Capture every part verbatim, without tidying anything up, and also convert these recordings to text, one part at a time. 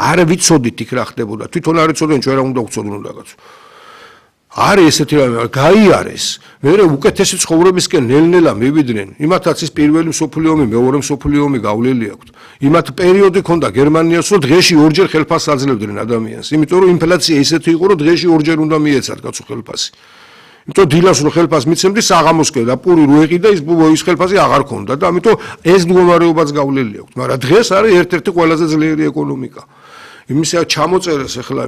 არ ვიცოდით იქ რა ხდებოდა. თვითონ არ იცოდნენ ჩვენ რა უნდა ვცოდნო რაღაც. არის ესეთი რამე, გაიარეს. მერე უკეთესი ცხოვრებისკენ ნელ-ნელა მივიდნენ. იმათაც ის პირველი მსოფლიო ომი, მეორე მსოფლიო ომი გავლილი აქვთ. იმათ პერიოდი ქონდა გერმანიას, რომ დღეში ორჯერ ხელფასს აძლევდნენ ადამიანს. იმიტომ რომ ინფლაცია ისეთი იყო, რომ დღეში ორჯერ უნდა მიეცათ კაცო ხელფასი. იმიტომ დილას რო ხელფასს მიცემდი საღამოსკენ და პური რო ეყიდა ის ის ხელფასი აღარ ქონდა და ამიტომ ეს მდგომარეობაც გავლილი აქვს. მაგრამ დღეს არის ერთ-ერთი ყველაზე ძლიერი ეკონომიკა. იმისა ჩამოწერეს ახლა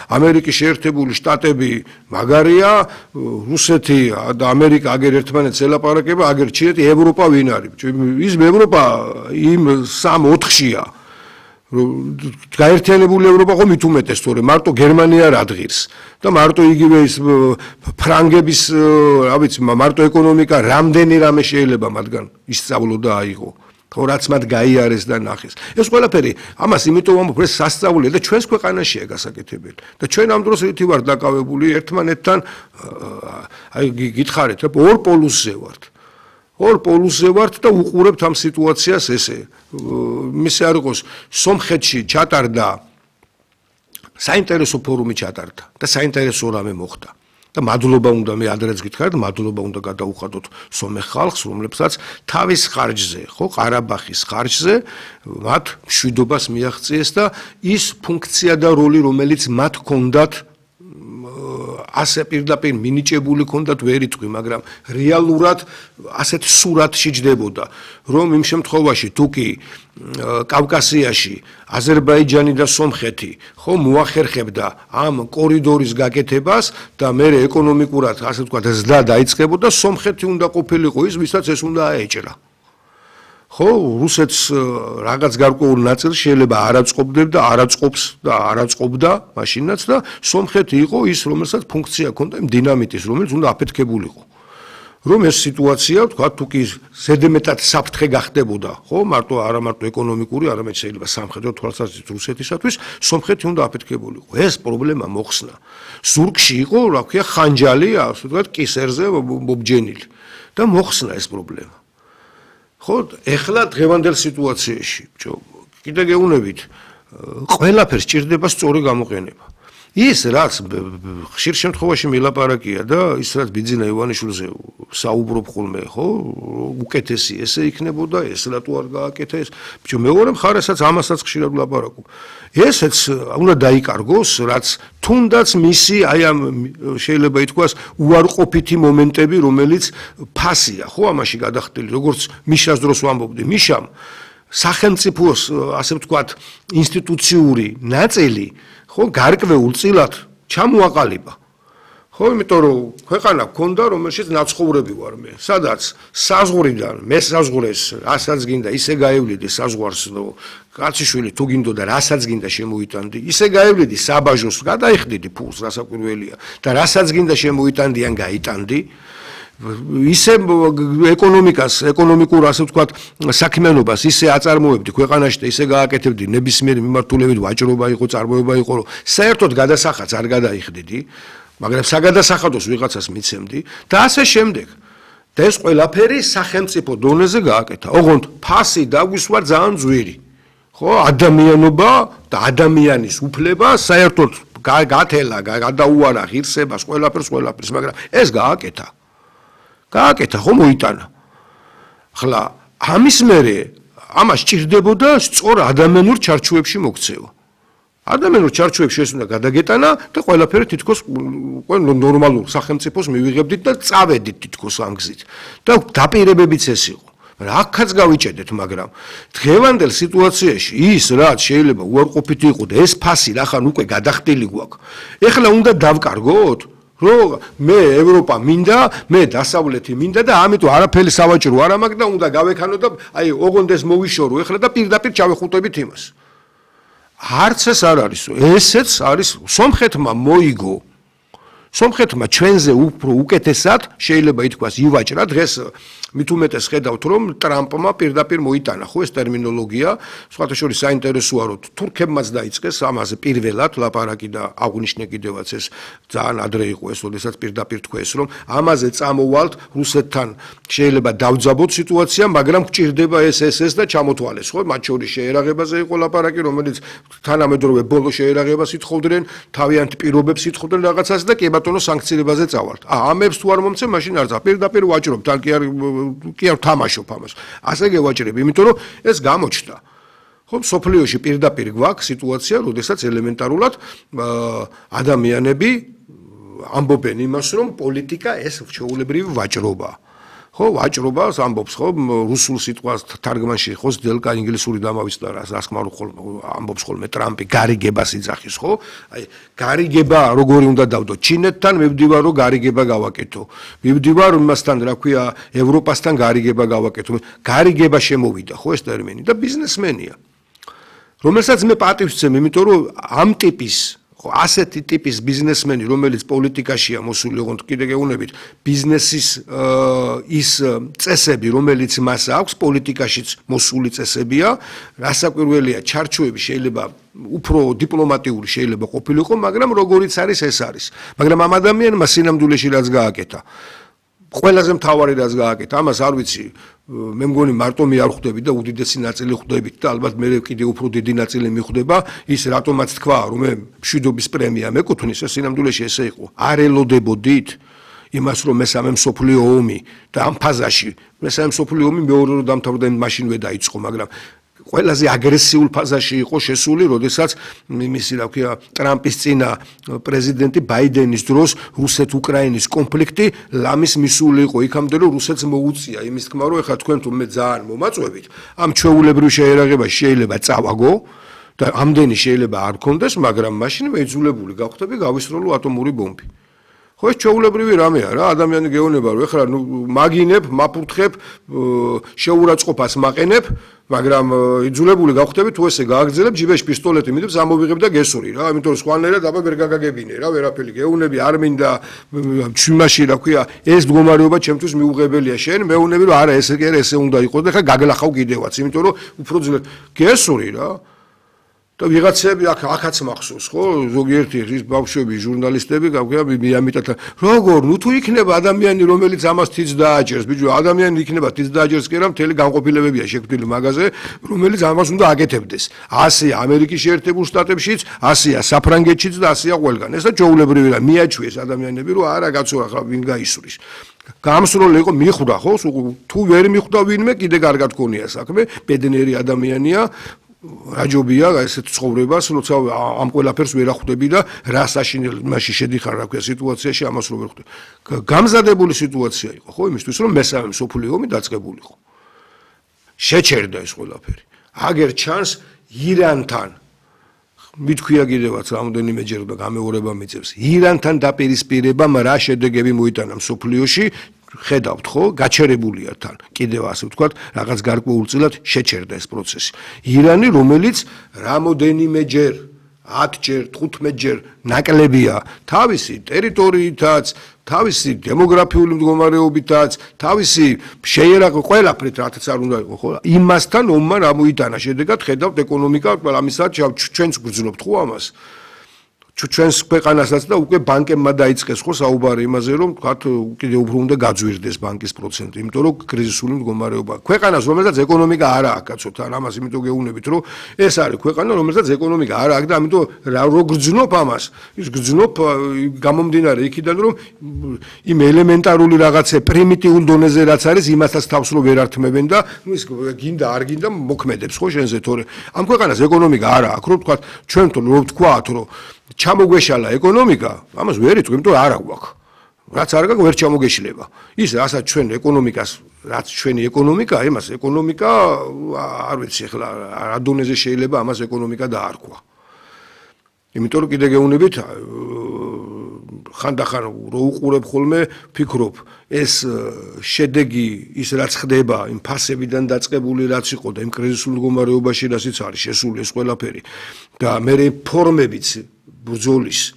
ამერიკის შეერთებული შტატები მაგარია, რუსეთი და ამერიკა აგერ ერთმანეთს ელაპარაკება, აგერ ჩინეთი, ევროპა ვინ არის? ის ევროპა იმ სამ ოთხშია. გაერთიანებული ევროპა ხო მით უმეტეს, თორე მარტო გერმანია არ ადგირს და მარტო იგივე ის ფრანგების, რა ვიცი, მარტო ეკონომიკა რამდენი რამე შეიძლება მათგან ისწავლო და აიღო. ხო რაც მათ გაიარეს და ნახეს. ეს ყველაფერი ამას იმიტომ ვამბობ, ეს სასწაულია და ჩვენს ქვეყანაშია გასაკეთებელი. და ჩვენ ამ დროს რითი ვართ დაკავებული ერთმანეთთან, აი გითხარით, რა ორ პოლუსზე ვართ. ორ პოლუსზე ვართ და უყურებთ ამ სიტუაციას ესე. მისე არ იყოს სომხეთში ჩატარდა საინტერესო ფორუმი ჩატარდა და საინტერესო რამე მოხდა. და მადლობა უნდა მე ადრეც გითხარით, მადლობა უნდა გადაუხადოთ სომეხ ხალხს, რომლებსაც თავის ხარჯზე, ხო, ყარაბაღის ხარჯზე მათ მშვიდობას მიაღწიეს და ის ფუნქცია და როლი, რომელიც მათ ჰქონდათ ასე პირდაპირ მინიჭებული ჰქონდათ ვერ იტყვი, მაგრამ რეალურად ასეთ სურათში ჯდებოდა, რომ იმ შემთხვევაში თუ კი კავკასიაში აზერბაიჯანი და სომხეთი ხო მოახერხებდა ამ კორიდორის გაკეთებას და მე ეკონომიკურად ასე ვთქვათ ზრდა დაიწყებოდა, სომხეთი უნდა ყოფილიყო ის, ვისაც ეს უნდა აეჭრა. ხო, რუსეთს რაღაც გარკვეულ ნაწილს შეიძლება არ აწყობდებდა, არ აწყობს და არ აწყობდა მაშინაც და სომხეთი იყო ის, რომელსაც ფუნქცია ჰქონდა იმ დინამიტის, რომელიც უნდა აფეთქებულიყო. რომ ეს სიტუაცია, თქვა, თუ კი ზედმეტად საფრთხე გახდებოდა, ხო, მარტო არა მარტო ეკონომიკური, არამედ შეიძლება სამხედრო თვალსაზრისით რუსეთისათვის, სომხეთი უნდა აფეთქებულიყო. ეს პრობლემა მოხსნა. ზურგში იყო, რა ქვია, ხანჯალი, ასე ვთქვათ, კისერზე მობჯენილი და მოხსნა ეს პრობლემა. ხო, ეხლა დღევანდელ სიტუაციაში, ბჭო, კიდე გეუბნებით, ყველაფერს ჭირდება სწორი გამოყენება. ის რაც ხშირ შემთხვევაში მილაპარაკია და ის რაც ბიძინა ივანიშვილზე საუბრობ ხოლმე, ხო, უკეთესი ესე იქნებოდა, ეს რატო არ გააკეთა ეს. ბჭო, მეორე მხარესაც ამასაც ხშირად ვლაპარაკობ. ესეც უნდა დაიკარგოს, რაც თუნდაც მისი აი ამ შეიძლება ითქვას უარყოფითი მომენტები, რომელიც ფასია, ხო, ამაში გადახდილი, როგორც მიშას დროს ვამბობდი, მიშამ სახელმწიფოს, ასე ვთქვათ, ინსტიტუციური ნაწილი ხო გარკვეულ წილად ჩამოაყალიბა. ხო, იმიტომ რომ ქვეყანა გქონდა, რომელშიც ნაცხოვრები ვარ მე. სადაც საზღვრიდან მე საზღვრეს, რასაც გინდა, ისე გაევლიდი საზღვარს, კაციშვილი თუ გინდოდა, რასაც გინდა შემოიტანდი, ისე გაევლიდი საბაჟოს, გადაიხდიდი ფულს, რასაკვირველია და რასაც გინდა შემოიტანდი ან გაიტანდი. ისე ეკონომიკას, ეკონომიკურ ასე ვთქვათ, საქმიანობას ისე აწარმოებდი ქვეყანაში და ისე გააკეთებდი ნებისმიერი მიმართულებით ვაჭრობა იყო, წარმოება იყო, რომ საერთოდ გადასახადს არ გადაიხდიდი, მაგრამ საგადასახადოს ვიღაცას მიცემდი და ასე შემდეგ. და ეს ყველაფერი სახელმწიფო დონეზე გააკეთა. ოღონდ ფასი დაგვისვა ძალიან ძვირი. ხო, ადამიანობა და ადამიანის უფლება საერთოდ გათელა, გადაუარა ღირსებას, ყველაფერს, ყველაფერს, მაგრამ ეს გააკეთა. გააკეთა, ხო მოიტანა. ახლა ამის მერე ამას ჭირდებოდა სწორ ადამიანურ ჩარჩოებში მოქცევა. ადამიანურ ჩარჩოებში ეს უნდა გადაგეტანა და ყველაფერი თითქოს ნორმალურ სახელმწიფოს მივიღებდით და წავედით თითქოს ამ გზით. და დაპირებებიც ეს იყო. აქაც გავიჭედეთ, მაგრამ დღევანდელ სიტუაციაში ის რაც შეიძლება უარყოფითი იყო და ეს ფასი რახან უკვე გადახდილი გვაქვს. ეხლა უნდა დავკარგოთ? რომ მე ევროპა მინდა, მე დასავლეთი მინდა და ამიტომ არაფერი სავაჭრო არ მაქვს და უნდა გავექანო და აი ოღონდ ეს მოვიშორო ეხლა და პირდაპირ ჩავეხუტებით იმას. არც ეს არ არის, ესეც არის სომხეთმა მოიგო სომხეთმა ჩვენზე უფრო უკეთესად შეიძლება ითქვას ივაჭრა დღეს მით უმეტეს ხედავთ რომ ტრამპმა პირდაპირ მოიტანა ხო ეს ტერმინოლოგია სხვათა შორის საინტერესოა რომ თურქებმაც დაიწყეს ამაზე პირველად ლაპარაკი და აღნიშნე კიდევაც ეს ძალიან ადრე იყო ეს როდესაც პირდაპირ თქვეს რომ ამაზე წამოვალთ რუსეთთან შეიძლება დავძაბოთ სიტუაცია მაგრამ გჭირდება ეს ეს ეს და ჩამოთვალეს ხო მათ შორის შეერაღებაზე იყო ლაპარაკი რომელიც თანამედროვე ბოლო შეერაღებას ითხოვდნენ თავიანთ პირობებს ითხოვდნენ რაღაცას და კი ბატონო სანქციებაზე წავალთ ა ამებს თუ არ მომცე მაშინ არ წა პირდაპირ ვაჭრობ თან კი არ კი არ თამაშობ ამას. ასე გევაჭრებ, იმიტომ რომ ეს გამოჩნდა. ხო, სოფლიოში პირდაპირ გვაქვს სიტუაცია, როდესაც ელემენტარულად ადამიანები ამბობენ იმას, რომ პოლიტიკა ეს ჩვეულებრივი ვაჭრობაა. ხო, ვაჭრობას ამბობს ხო რუსულ სიტყვას თარგმანში ხო ძელკა ინგლისური დამავიწყდა რას ასკმარო ხოლმე ამბობს ხოლმე ტრამპი გარიგებას იძახის ხო აი გარიგება როგორი უნდა დავდო ჩინეთთან მივდივარ რომ გარიგება გავაკეთო მივდივარ იმასთან რა ქვია ევროპასთან გარიგება გავაკეთო გარიგება შემოვიდა ხო ეს ტერმინი და ბიზნესმენია რომელსაც მე პატივს ვცემ იმიტომ რომ ამ ტიპის ასეთი ტიპის ბიზნესმენი, რომელიც პოლიტიკაშია მოსული, ოღონდ კიდე გეუბნებით, ბიზნესის ის წესები, რომელიც მას აქვს, პოლიტიკაშიც მოსული წესებია, რასაკვირველია, ჩარჩოები შეიძლება უფრო დიპლომატიური შეიძლება ყოფილიყო, მაგრამ როგორიც არის, ეს არის. მაგრამ ამ ადამიანმა სინამდვილეში რაც გააკეთა, ყველაზე მთავარი რაც გააკეთა, ამას არ ვიცი, მე მგონი მარტო მე არ ხვდები და უდიდესი ნაწილი ხვდებით და ალბათ მე კიდე უფრო დიდი ნაწილი მიხვდება ის რატომაც თქვა რომ მე მშვიდობის პრემია მეკუთვნის ეს სინამდვილეში ესე იყო არ ელოდებოდით იმას რომ მესამე მსოფლიო ომი და ამ ფაზაში მესამე მსოფლიო ომი მეორე რომ დამთავრდა მაშინვე დაიწყო მაგრამ ყველაზე აგრესიულ ფაზაში იყო შესული, როდესაც მისი რა ქვია ტრამპის წინა პრეზიდენტი ბაიდენის დროს რუსეთ-უკრაინის კონფლიქტი ლამის მისული იყო იქამდე რომ რუსეთს მოუწია იმის თქმა რომ ეხლა თქვენ თუ მე ძალიან მომაწვევით ამ ჩვეულებრივ შეერაღებას შეიძლება წავაგო და ამდენი შეიძლება არ გქონდეს მაგრამ მაშინ მეძულებული გავხდები გავისროლო ატომური ბომბი ხო ეს ჩვეულებრივი რამეა რა ადამიანი გეუბნება რომ ეხლა ნუ მაგინებ მაფურთხებ შეურაცხყოფას მაყენებ მაგრამ იძულებული გავხდები თუ ესე გააგრძელებ ჯიბეში პისტოლეტი მიდებს ამოვიღებ და გესური რა იმიტომ რომ სხვანაირად აბა ვერ გაგაგებინე რა ვერაფერი გეუბნები არ მინდა ჩიმაში რა ქვია ეს მდგომარეობა ჩემთვის მიუღებელია შენ მეუბნები რომ არა ესე კი არა ესე უნდა იყოს და ხა გაგლახავ კიდევაც იმიტომ რომ უფრო ძლიერ გესური რა და ვიღაცები აქ აქაც მახსოვს ხო ზოგიერთი ის ბავშვები ჟურნალისტები გავგია მიამიტათ როგორ ნუ თუ იქნება ადამიანი რომელიც ამას თიც დააჭერს ბიჭო ადამიანი იქნება თიც დააჭერს კი რა მთელი განყოფილებებია შექმნილი მაგაზე რომელიც ამას უნდა აკეთებდეს ასეა ამერიკის შეერთებულ შტატებშიც ასეა საფრანგეთშიც და ასეა ყველგან ესა ჩვეულებრივი რა მიაჩვიეს ადამიანები რომ არა კაცო ახლა ვინ გაისურის გამსროლი იყო მიხვდა ხო თუ ვერ მიხვდა ვინმე კიდე კარგად გქონია საქმე ბედნიერი ადამიანია რაჯობია ესეთ ცხოვრებას, როცა ამ ყველაფერს ვერ ახვდები და რა საშინელში შედიხარ რა ქვია სიტუაციაში ამას რო ვერ ხვდები. გამზადებული სიტუაცია იყო, ხო, იმისთვის რომ მესამე მსოფლიო ომი დაწყებულიყო. შეჩერდა ეს ყველაფერი. აგერ ჩანს ირანთან მithქვია კიდევაც რამოდენიმეჯერ და გამეორება მიწევს. ირანთან დაპირისპირებამ რა შედეგები მოიტანა მსოფლიოში ხედავთ ხო გაჩერებულია თან კიდევ ასე ვთქვათ რაღაც გარკვეულწილად შეჩერდა ეს პროცესი ირანი რომელიც რამოდენიმეჯერ ათჯერ თხუთმეტჯერ ნაკლებია თავისი ტერიტორიითაც თავისი დემოგრაფიული მდგომარეობითაც თავისი შეერაღო ყველაფრით რაც არ უნდა იყო ხო იმასთან ომმა რა მოიტანა შედეგად ხედავთ ეკონომიკა ამისა ჩვენც გრძნობთ ხო ამას ჩვენს ქვეყანასაც და უკვე ბანკებმა დაიწყეს ხო საუბარი იმაზე რომ თქვათ კიდე უფრო უნდა გაძვირდეს ბანკის პროცენტი იმიტომ რომ კრიზისული მდგომარეობა ქვეყანას რომელსაც ეკონომიკა არ აქვს კაცო თან ამას იმიტომ გეუბნებით რომ ეს არის ქვეყანა რომელსაც ეკონომიკა არ აქვს და ამიტომ რო გრძნობ ამას ის გრძნობ გამომდინარე იქიდან რომ იმ ელემენტარული რაღაცე პრიმიტიულ დონეზე რაც არის იმასაც თავს რო ვერ ართმევენ და ნუ ის გინდა არ გინდა მოქმედებს ხო შენზე თორე ამ ქვეყანას ეკონომიკა არ აქვს რომ თქვათ ჩვენთან რო ვთქვათ რომ ჩამოგვეშალა ეკონომიკა, ამას ვერ იტყვი, იმიტომ არ აქვს. რაც არ გაქვს, ვერ ჩამოგეშლება. ის რასაც ჩვენ ეკონომიკას, რაც ჩვენი ეკონომიკაა, იმას ეკონომიკა არ ვიცი ახლა რა დონეზე შეიძლება ამას ეკონომიკა დაარქვა. იმიტომ რომ კიდე გეუბნებით ხანდახან რო უყურებ ხოლმე ფიქრობ ეს შედეგი ის რაც ხდება იმ ფასებიდან დაწყებული რაც იყო და იმ კრიზისულ მდგომარეობაში რაციც არის შესული ეს ყველაფერი და მე ფორმებიც ბრძოლის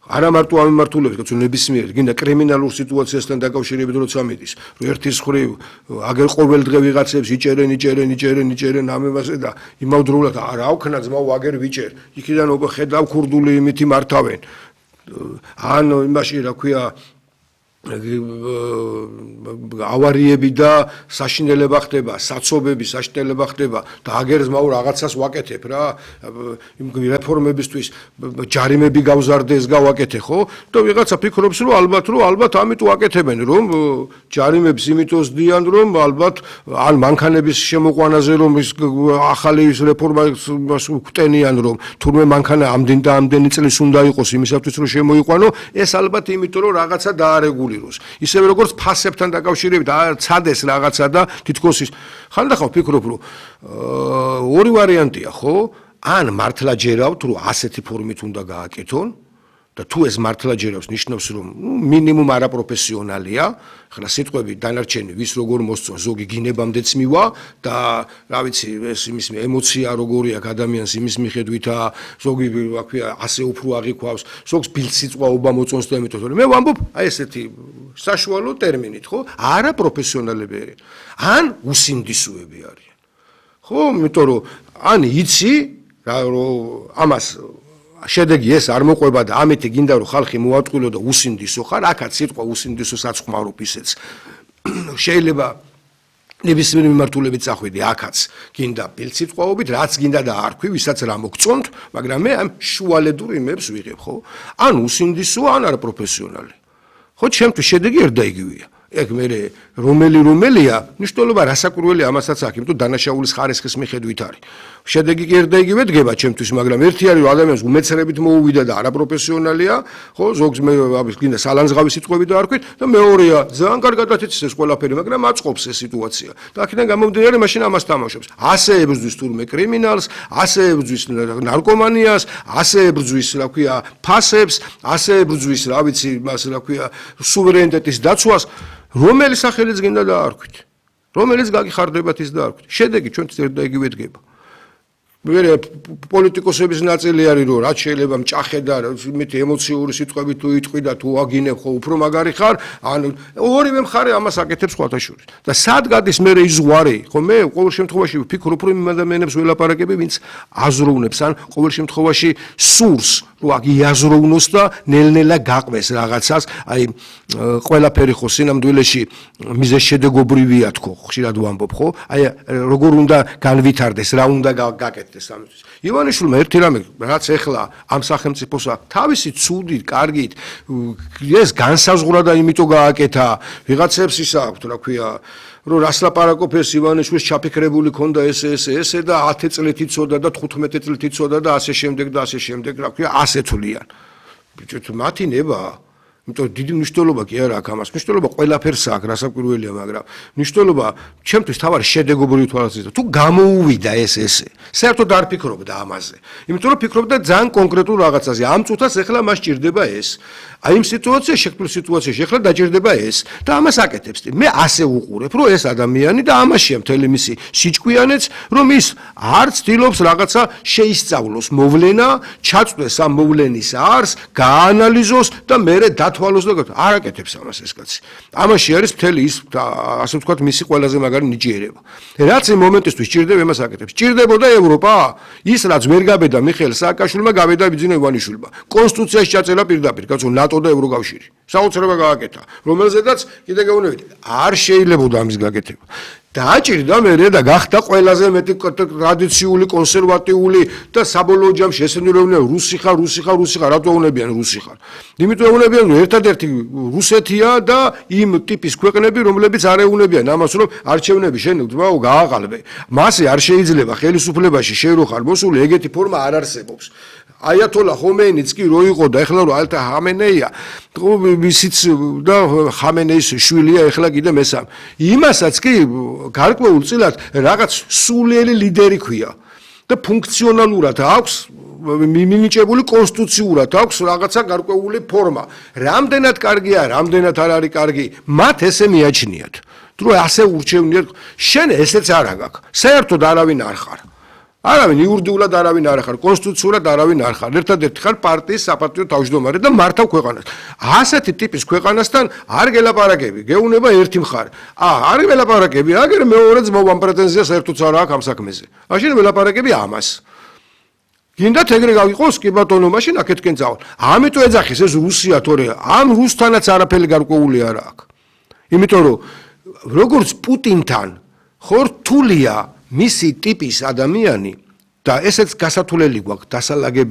არა მარტო ამ მიმართულებით, კაცო ნებისმიერ, გინდა კრიმინალურ სიტუაციასთან დაკავშირებით როცა მიდის, ერთის ხრივ აგერ ყოველ დღე ვიღაცებს იჭერენ, იჭერენ, იჭერენ, იჭერენ ამებაზე და იმავდროულად არ აუქნა ძმაო აგერ ვიჭერ. იქიდან ხედავ ქურდული იმითი მართავენ. ან იმაში რა ქვია ავარიები და საშინელება ხდება, საცობები, საშინელება ხდება და აგერ ზმაო რაღაცას ვაკეთებ რა, იმ რეფორმებისთვის ჯარიმები გავზარდეს, გავაკეთე ხო? და ვიღაცა ფიქრობს რომ ალბათ რომ ალბათ ამით ვაკეთებენ, რომ ჯარიმებს იმითოს დიან, რომ ალბათ ან მანქანების შემოყვანაზე რომ ის ახალი რეფორმა ვკტენიან, რომ თურმე მანქანა ამდენ და ამდენი წლის უნდა იყოს იმისათვის რომ შემოიყვანო, ეს ალბათ იმიტომ რომ რაღაცა დაარეგულიროს. ისევე როგორც ფასებთან დაკავშირებით ცადეს რაღაცა და თითქოს ის ხანდახან ვფიქრობ რომ ორი ვარიანტია ხო? ან მართლა ჯერავთ რომ ასეთი ფორმით უნდა გააკეთონ და თუ ეს მართლა ჯერავს ნიშნავს რომ მინიმუმ არაპროფესიონალია, ხლა სიტყვები დანარჩენი ვის როგორ მოსწონს, ზოგი გინებამდეც მივა და რა ვიცი ეს იმის ემოცია როგორი აქვს ადამიანს იმის მიხედვითა, ზოგი რა ქვია ასე უფრო აღიქვავს, ზოგს ბილსიწვაობა მოწონს და ამიტომ მე ვამბობ აი ესეთი საშუალო ტერმინით ხო? არაპროფესიონალები არიან, ან უსინდისოები არიან. ხო, იმიტომ რომ ან იცი რა რომ ამას შედეგი ეს არ მოყვება და ამეთი გინდა რომ ხალხი მოატყვილო და უსინდისო ხარ, აქაც სიტყვა უსინდისოსაც ხმარობ ისეც. შეიძლება ნებისმიერ მიმართულებით წახვიდი, აქაც გინდა ბილსიწვაობით, რაც გინდა და არ ქვი, ვისაც რა მოგწონთ, მაგრამ მე ამ შუალედურ იმებს ვიღებ, ხო? ან უსინდისო, ან არაპროფესიონალი. ხო, ჩემთვის შედეგი ერთ და იგივეა. ეგ მე რომელი რომელია, ნიშნულობა რასაკურველი ამასაც აქვს, იმიტომ დანაშაულის ხარისხის მიხედვით არის. შედეგი კი ერთ და იგივე დგება ჩემთვის, მაგრამ ერთი არის რომ ადამიანს უმეცრებით მოუვიდა და არაპროფესიონალია, ხო, ზოგს მე გინდა სალანძღავი სიტყვები და არ ქვით და მეორეა, ძალიან კარგად იცის ეს ყველაფერი, მაგრამ აწყობს ეს სიტუაცია. და აქედან გამომდინარე მაშინ ამას თამაშობს. ასე ებრძვის თურმე კრიმინალს, ასე ებრძვის ნარკომანიას, ასე ებრძვის, რა ქვია, ფასებს, ასე ებრძვის, რა ვიცი, მას რა ქვია, სუვერენიტეტის დაცვას. რომელი სახელიც გინდა და არ ქვით. რომელიც გაგიხარდებათ ის და არ ქვით. შედეგი ჩვენთვის ერთ და იგივე დგება. მე პოლიტიკოსების ნაწილი არის რომ რაც შეიძლება მჭახე და იმით ემოციური სიტყვები თუ იტყვი და თუ აგინებ ხო უფრო მაგარი ხარ, ან ორივე მხარე ამას აკეთებს სხვათა შორის. და სად გადის მე ის ზღვარი, ხო მე ყოველ შემთხვევაში ვფიქრობ რომ იმ ადამიანებს ველაპარაკები, ვინც აზროვნებს ან ყოველ შემთხვევაში სურს რომ აქ იაზროვნოს და ნელ-ნელა გაყვეს რაღაცას, აი ყველაფერი ხო სინამდვილეში მიზეშედეგობრივია თქო, ხშირად ვამბობ ხო? აი როგორ უნდა განვითარდეს, რა უნდა გაკეთდეს ამისთვის. ივანიშვილმა ერთი რამე რაც ეხლა ამ სახელმწიფოს აქვს, თავისი ცუდით, კარგით, ეს განსაზღვრა და იმიტომ გააკეთა, ვიღაცებს ის აქვს, რა ქვია, რომ რას ლაპარაკობს ივანიშვილს ჩაფიქრებული ქონდა ესე ესე ესე და ათი წლით იცოდა და თხუთმეტი წლით იცოდა და ასე შემდეგ და ასე შემდეგ, რა ქვია, ასე თვლიან. ბიჭო, მათი ნება იმიტომ დიდი მნიშვნელობა კი არა აქვს ამას. მნიშვნელობა ყველაფერს აქვს, რასაკვირველია, მაგრამ მნიშვნელობა ჩემთვის თავარი შედეგობრივი თვალსაზრისით. თუ გამოუვიდა ეს ესე, საერთოდ არ ფიქრობდა ამაზე. იმიტომ რომ ფიქრობდა ძალიან კონკრეტულ რაღაცაზე. ამ წუთას ეხლა მას ჭირდება ეს. აი იმ სიტუაციაში, შექმნილ სიტუაციაში ეხლა დაჭირდება ეს და ამას აკეთებს. მე ასე უყურებ, რომ ეს ადამიანი და ამაშია მთელი მისი სიჭკვიანეც, რომ ის არ ცდილობს რაღაცა შეისწავლოს მოვლენა, ჩაწვდეს ამ მოვლენის არსს, გააანალიზოს და მერე თვალოს და არ აკეთებს ამას ეს კაცი. ამაში არის მთელი ის ასე ვთქვათ მისი ყველაზე მაგარი ნიჭიერება. რაც იმ მომენტისთვის ჭირდება იმას აკეთებს. ჭირდებოდა ევროპა? ის რაც ვერ გაბედა მიხეილ სააკაშვილმა, გაბედა ბიძინა ივანიშვილმა. კონსტიტუციაში ჩაწერა პირდაპირ, კაცო, ნატო და ევროკავშირი. საოცრება გააკეთა, რომელზედაც კიდე გეუბნებით, არ შეიძლებოდა ამის გაკეთება. დააჭირდა მერე და გახდა ყველაზე მეტი ტრადიციული, კონსერვატიული და საბოლოო ჯამში ესენი რომ რუსი ხარ, რუსი ხარ, რუსი ხარ, რატო უნებიან რუსი ხარ. იმიტომ ეუნებიან რომ ერთადერთი რუსეთია და იმ ტიპის ქვეყნები, რომლებიც არ ეუნებიან ამას, რომ არჩევნები შენ ძმაო გააყალბე. მასე არ შეიძლება ხელისუფლებაში შენ რო ხარ მოსული, ეგეთი ფორმა არ არსებობს. აიათოლა ხომეინიც კი რო იყო და ეხლა რო ალთა ხამენეია, ისიც და ხამენეის შვილია ეხლა კიდე მესამე. იმასაც კი გარკვეულ წილად რაღაც სულიერი ლიდერი ქვია და ფუნქციონალურად აქვს მინიჭებული კონსტიტუციურად აქვს რაღაცა გარკვეული ფორმა. რამდენად კარგია, რამდენად არ არის კარგი, მათ ესე მიაჩნიათ. თუ ასე ურჩევნიათ, შენ ესეც არ აგაკ. საერთოდ არავინ არ ხარ. არავინ იურიდიულად არავინ არ ხარ, კონსტიტუციურად არავინ არ ხარ. ერთადერთი ხარ პარტიის საპატიო თავმჯდომარე და მართავ ქვეყანას. ასეთი ტიპის ქვეყანასთან არ გელაპარაკები, გეუნება ერთი მხარე. ა, არ გელაპარაკები, აგერ მეორეც მოვამ პრეტენზიას ერთუც არ აქვს ამ საქმეზე. მაშინ ველაპარაკები ამას. გინდათ ეგრე გავიყოს კი ბატონო, მაშინ აქეთკენ წავალ. ამიტომ ეძახის ეს რუსია, თორე ამ რუსთანაც არაფერი გარკვეული არ აქვს. იმიტომ რომ როგორც პუტინთან ხო რთულია მისი ტიპის ადამიანი და ესეც გასათვლელი გვაქვს დასალაგებელი